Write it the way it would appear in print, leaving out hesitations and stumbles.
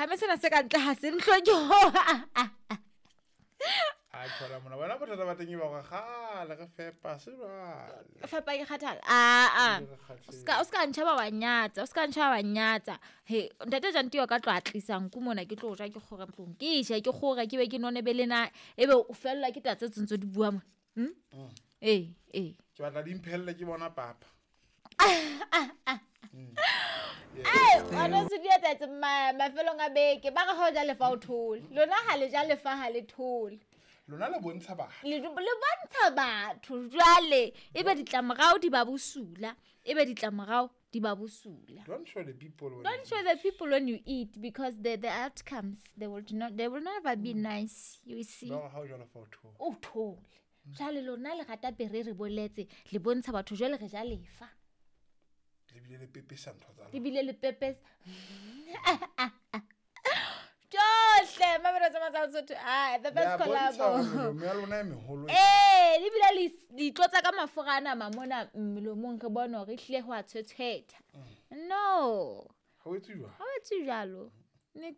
Game sena se ka ntle ga se ntlhoke. A thola mona wena bothata ba teng e ba gore gale re fepa se jwale. Fepa ke kgathala. Aa. Re kgathetse. O ska ntšha ba wa nyatsa, o ska ntšha ba wa nyatsa. He, ntate Jantio ka tlo a tlisa nku mona ke tlo ja ke kgore ntlong. Ke je ke kgore ke be ke none be le na ebe o fellwa ke taba tse tsentse di bua mona. Ee, ee. Ke batla di mphelle ke bona papa. Ona se di etsahetse mafelong a beke ba re ha o ja lefa o thole. Lona ha le ja lefa ha le thole. Lona le bontsha batho. Le bontsha batho jwale ebe ditlamorao di ba bosula, ebe ditlamorao di ba bosula. Don't show the people when Don't you show the people when you eat because the outcomes they will not, they will never be nice, you see. Ba re ha o ja lefa o thole. O thole. Jwale lona le rata pere re boletse, le bontsha batho jwale re ja lefa. Le bile le pepesa ntho tsa lona. Le bile le pepesa. Tjohle, mamelo tsa Matshwao Sotho. Ah, the best Le a bontsha collabo. hore melomo ya lona e meholo e Eh, le bile le itlotsa ka mafura ana mamona melomong re bone hore ehlile ho a tshwetshwetha. No. Ha o etse jwalo? Ha o etse jwalo. Nix.